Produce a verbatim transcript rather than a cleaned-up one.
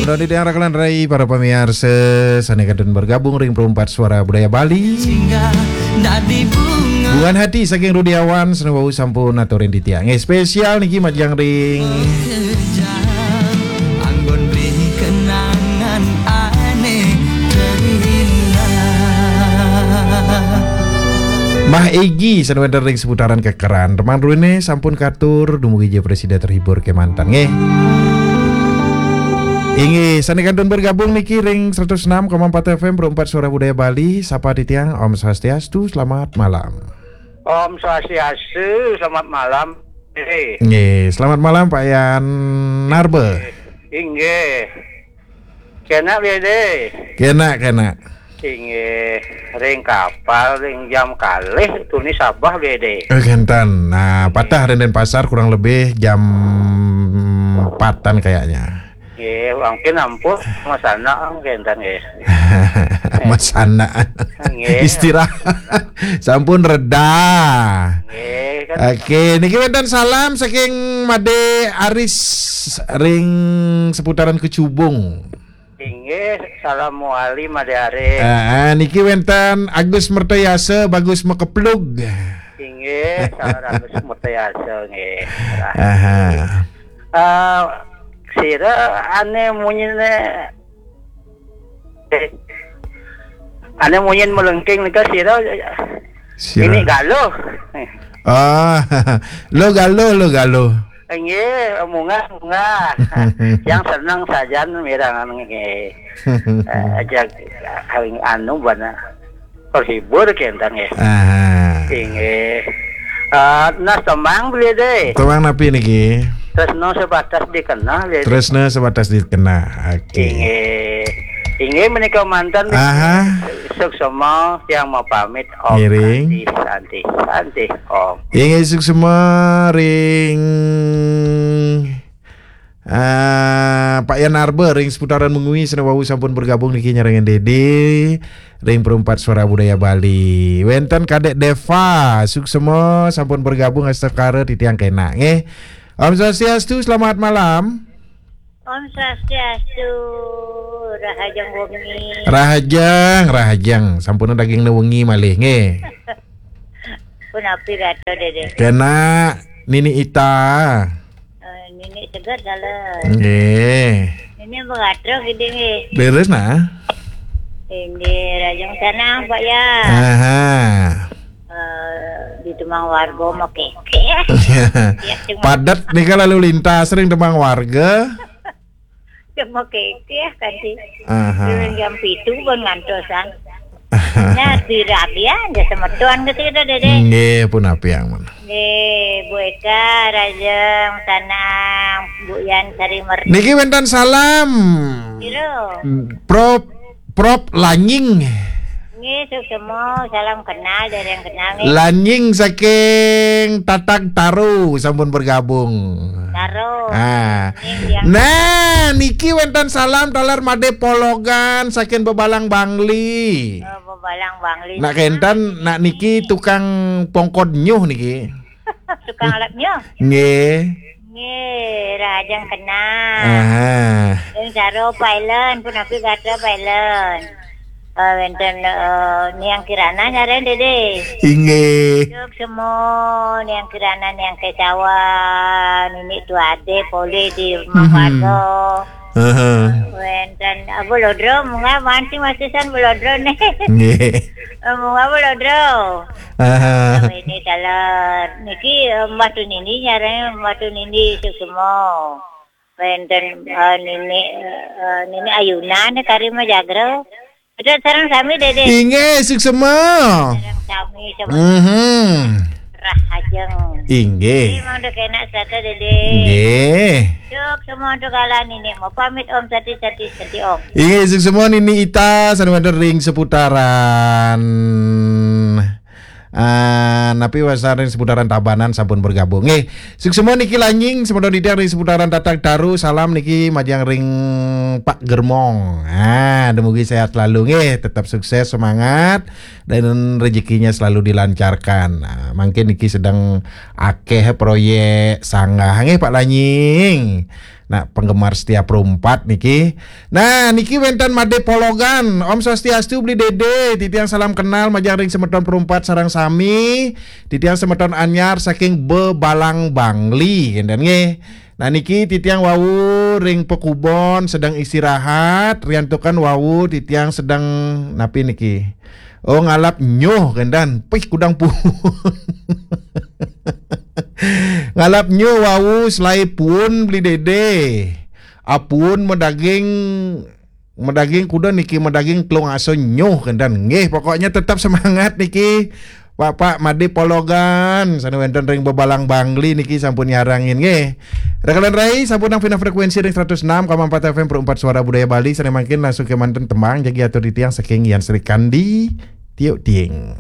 Roni Tiang Rakalan Rai, para pamiarsa sané kantun bergabung ring Perumpat Suara Budaya Bali. Bungan Hati saking Rudiawan, sané wau sampun aturin titiang. Eh, spesial niki majeng ring Anggon beri kenangan ané terindah. Mah Egi sané wénten ring seputaran Kekeran. Teman ruine sampun katur, dumugi ja prasida terhibur kemanten nggih. Inggih, sané kantun bergabung niki ring seratus enam koma empat F M Perumpat Suara Budaya Bali. Sapa titiang, Om Swastiastu, selamat malam. Om Swastiastu, selamat malam. Eh, Nggih, selamat malam Pak Yan Narbe. Inggih. Kena, Bede? Kena, kena. Inggih, ring kapal, ring jam kalih, tuni Sabah, Bede. Eh, kenten. Nah, patah ring Denpasar kurang lebih jam empatan kayaknya. Nggih, mungkin ampun, masana, kenten, nggih. Masana. Nggih. Istirahat. Sampun reda. Nggih, kan. Oke, niki wénten salam saking Made Aris ring seputaran Kecubung. Inggih, salam muali Made Aris. Ah, niki wénten Agus Mertayasa, Bagus Mekeplug. Inggih, salam Agus Mertayasa, nggih. Aha. Eh, sira ané munyiné, eh, ané munyin melengking nika sira Sira. Ini galuh. Ah, lo galuh, lo galuh. Nggih, munggah, munggah. Yang seneng sajan mirengang nggih. Eh, aja anu bana terhibur kenten nggih. Aha. Inggih. Eh, nah, tembang beli deh. Tembang napi niki? Tresno sebatas dikenal, ya. Tresno sebatas dikenal. Oke. Inggih. Inggih menika manten. Aha. Suksma yang mau pamit, Om. Ngiring. Santi, santi, santi, Om. Inggih, suksma ring, ah, Pak Yan Arbe ring seputaran Mengwi, sané wau sampun bergabung niki nyarengin Dede ring Perumpat Suara Budaya Bali. Wénten Kadek Deva, suksma sampun bergabung, astekara titiang kena nggih. Om Swastiastu, selamat malam. Om Swastiastu, rahajeng wengi. Rahajeng, rahajeng. Sampun dagingné wengi malih nggih. Punapi gatra, Dede? Kena Nini Ita. Eh, Nini Seger dalam. Nggih. Nini begatra gede nggih. Leres nah. Inggih, rahajeng sanang, Pak Yan. Aha. Eh, di Temang Warga mah kékéh. Ya, cuma padat nika lalu lintas ring Temang Warga. Cuma kékéh kan sih. Aha. Durung jam pitu pun ngantosan. Nah, dirabian ya semeton gitu, gitu, Dede. Nggih, punapi ampun. Nggih, Bu Eka, rahajeng sanang, Bu Yan Sari Merti. Niki wénten salam. Piro? Prop, Prop Lanying. Nggih, suksma, salam kenal, dereng kenal nggih. Lanying saking Tatag Taro sampun bergabung. Taro. Ah. Nggih, yang nah, niki wénten salam taler Made Pologan saking Bebalang Bangli. Oh, Bebalang Bangli. Nak kenten, nak niki tukang pongkod nyuh niki. Tukang alat nyuh. Nggih. Nggih, rahajeng kenal. Aha. Ring Saro Pailen, punapi gatra Pailen. Eh, wénten, eh, Niang Kirana nyarén, Dede. Inggih. Suksma, Niang Kirana, Niang Kesawan, Nini Tuade, polih di Temang Warga. Aha. Wénten, eh, Bulodro, munggah masih masisan Bulodro nih. Nggih. Eh, munggah Bulodro. Aha. Ini taler. Niki, eh, Mbah Tunini nyarén, Mbah Tunini suksma. Wénten, eh, Nini, eh, Nini Ayuna nih kari mah jagra. Betul sareng sami, Dede. Inggih, suksma. Sareng sami, sama. Mhm. Rahajeng. Inggih. Ini emang udah kena satu, Dede. Nggih. Suksma untuk kala Nini mau pamit, Om, sati, sati, sati, Om. Inggih, suksma Nini Ita sané wénten ring seputaran, ah, napi wasaning seputaran Tabanan sampun bergabung. Nggih, suksma niki Lanying, semeton titiang ring seputaran Tatag Taro, salam niki majeng ring Pak Germong. Ah, dumugi sehat selalu nggih, tetap sukses, semangat, dan rezekinya selalu dilancarkan. Nah, mungkin niki sedang akéh proyék sanggah nggih Pak Lanying. Nah, penggemar setia Perumpat niki. Nah, niki wénten Made Pologan. Om Swastiastu, Beli Dede. Titiang salam kenal majeng ring semeton Perumpat sareng sami. Titiang semeton anyar saking Bebalang Bangli, kénten nggih. Nah, niki titiang wau ring pakubon sedeng istirahat, riantukan wau titiang sedeng napi niki? Oh, ngalap nyuh, kénten. Pih, kudang puun. Ngalap nyuh wau, selaé puun, Beli Dede. Apuun madaging, madaging kuda niki, madaging telung aso nyuh, kénten. Nggih, pokoknya tetap semangat niki. Bapak Made Pologan, sané wénten ring Bebalang Bangli niki sampun nyarengin nggih. Rekan rai, sampun nang fina frekuensi ring seratus enam koma empat F M Perumpat Suara Budaya Bali, sané mangkin langsung kémanten tembang jagi atur titiang saking Yan Srikandi, Tiuk Tiing.